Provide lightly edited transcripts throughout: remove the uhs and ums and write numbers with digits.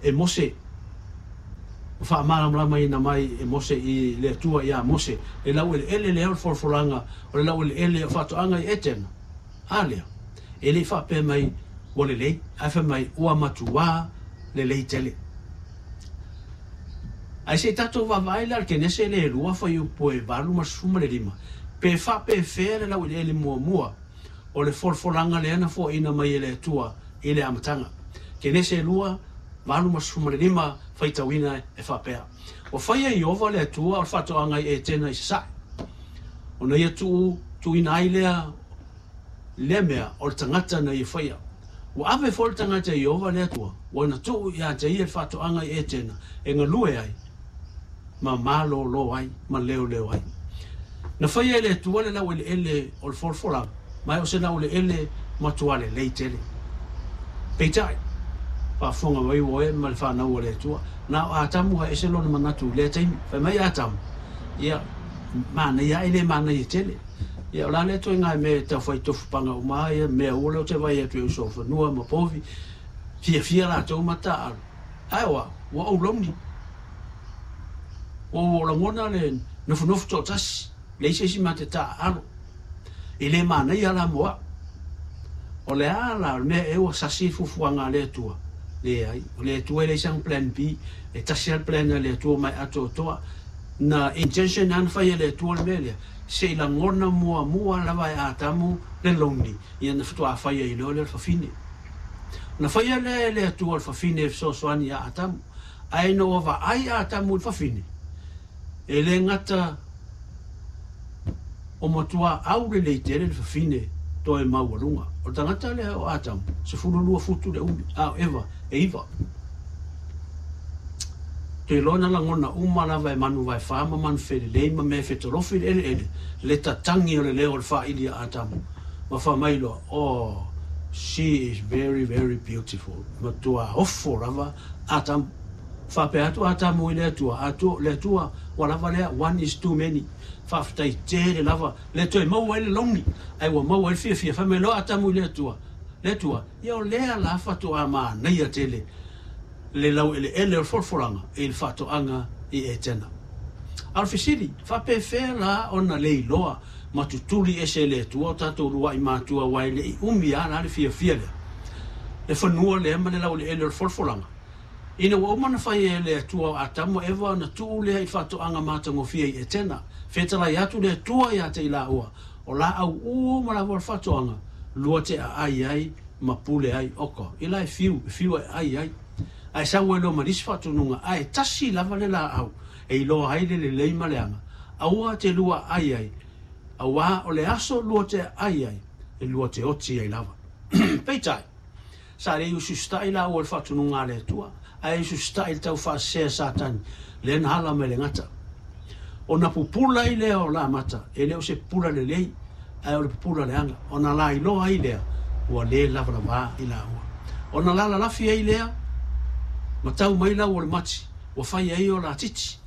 e Mose ma faamalamalamaina mai e Mose i le Atua ia Mose le laueleele lea o le folafolaga o le laueleele o faatoaga i Etena. A lea, e le i faapea mai ua lelei, ae fai mai ua matuā lelei tele. Ae se i tatou vaavaai la i le Kenese le 2 fuaiupu e 85, pe faapefea le laueleele muamua o le folafolaga lea na foaina mai e le Atua i le amataga. Kenese 2, 85, faitauina e faapea, Ua faia e Ieova le Atua o le faatoaga i Etena i sasae, ona ia tuu tuuina ai lea lea mea o le tagata na ia faia. Ua ave foi le tagata e Ieova le Atua, ua na tuu ia te ia le faatoaga i Etena e galue ai, ma malōlō ai, ma leoleo ai. Na faia e le Atua le laueleele o le folafolaga, ma e o se laueleele matua lelei tele. Peitai, faafofoga mai ua oe ma le fanau a le Atua, na o Atamu ae ese lona manatu i lea taimi. Fai mai Atamu, Ia, manaia ae le manaia tele. Ia, o le a lea ituaiga mea e tau fai tofu paga uma ai ia mea ua lea ou te vaai atu e uso o fanua ma povi, fiafia latou ma taaalo. Ae o au, ua ou lonely. Ua ou lagona le nofonofo toatasi, leai se isi ma te taaalo. E le manaia la mo au. O le a la, o le mea ea ua sasi le fuafuaga a le Atua? Leai. O le Atua e leai sana plan B. E tasi lava le plan a le Atua mai atoatoa. Na intention lava na fai e le Atua le mea lea, se i lagona muamua lava e Atamu le lonely, ia na faatoa fai ai loa lea o le fafine. Na faia lea e le Atua o le fafine e fesoasoani ia Atamu. Ae ina ua vaai Atamu i le fafine, e le gata o matua aulelei tele le fafine toe maualuga. O le tagata lea o Atamu, 12 futu le umi, a o Eva, e 9. Toe iloa na lagona uma lava e manu vaefa ma manu felelei ma mea e fetolofi i le eleele le tatagi o le leo o le faaili a Atamu, ma fai mai loa, Oh, she is very, very beautiful. Matua ofo lava Atamu. Faapea atu Atamu i le Atua, Atua, le Atua, ua lava lea, one is too many. Faafetai tele lava, le toe maua ai le logi, ae ua maua ai le fiafia. Fai mai loa Atamu i le Atua, Le Atua, ia o lea la faatoa manaia tele le laueleele o le folafolaga i le faatoaga i Etena. A o le fesili, faapefea la ona leiloa ma tutuli ese e le Atua o tatou luaʻi matua aua e le i umi a la le fiafia lea, le fanua lea ma le laueleele o le folafolaga? Ina ua uma ona fai e le Atua o Atamu ma Eva ona tuu lea i faatoaga matagofie i Etena, fetalai atu le Atua ia te i laua, o laau uma lava o le faatoaga, lua te aai ai ma pule ai, oka, i la e fiu, e fiu e ai ai. Ae sau ai loa ma nisi faatonuga, ae tasi lava le laau e iloa ai le lelei ma le aga, aua te lua aai ai, auā o le aso lua te aai ai, e lua te oti ai lava. Peitai, Sa le ususitaʻi lāua i le faatonuga a le Atua, ae ususitaʻi i le taufaasese a Satani, lea na hala mai le gata. Ona pupula ai lea o Lamata, e le o se pupula lelei, ae o le pupula leaga, ona lailoa ai lea ua le lavalavā i lāua. Ona lalalafi ai lea, ma tau mai lau o le mati, ua fai ai o la titi.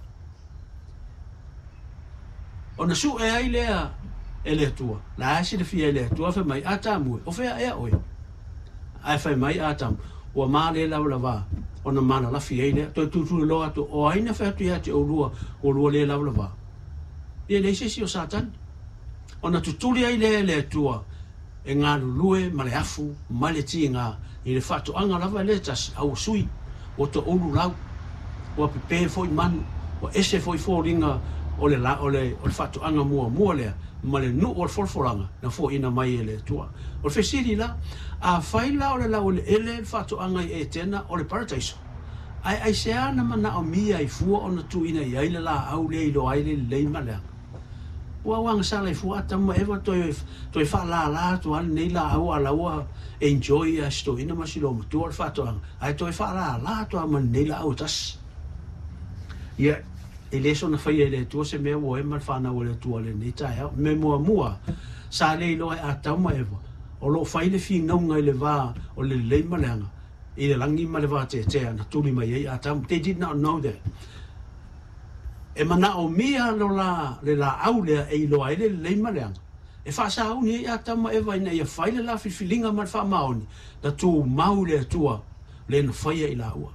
Ona suʻe ai lea e le Atua, la e silafia e le Atua, fai mai, Atamu e, o fea ea oe? Ae fai mai Atamu, Ua male lavalavā, ona malalafi ai lea. Toe tutuli loa atu, O ai na fai atu ia te oulua, ua lua le lavalavā? Ia leai se isi o Satani. Ona tutuli ai lea e le Atua, e galulue ma le afu ma le tiga i le faatoaga lava e le tasi, a ua sui, ua toulu lau, ua pepē foi manu, ua ese foi foliga o le o le o le faatoaga muamua lea ma le nuu o le folafolaga na foaina mai e le Atua. O le fesili la, afai la o le laueleele le faatoaga i Etena o le Parataiso, ae aisea na manaomia ai fua ona tuuina i ai le laau lea iloa ai le lelei ma le aga? Ua agasala i fua Atamu ma Eva toe toe faalala atu lava lenei laau a la ua enjoy ia si toeaina ma si loomatua o le faatoaga ae toe faalala atu lava ma lenei laau e tasi. Ia, e le soona faia e le Atua se mea ua ema le fanau a le Atua lenei taeao. Me muamua, sa le iloa e Atamu ma Eva o lo o fai le finauga i le va o le lelei ma le aga i le lagi ma le vateatea na tuli mai ai Atamu. They did not know that. E manaomia lo la le laau lea e iloa ai le lelei ma le aga, e faasauni ai Atamu ma Eva ina ia fai le la filifiliga ma le faamaoni na tumau i le Atua le na faia i laua.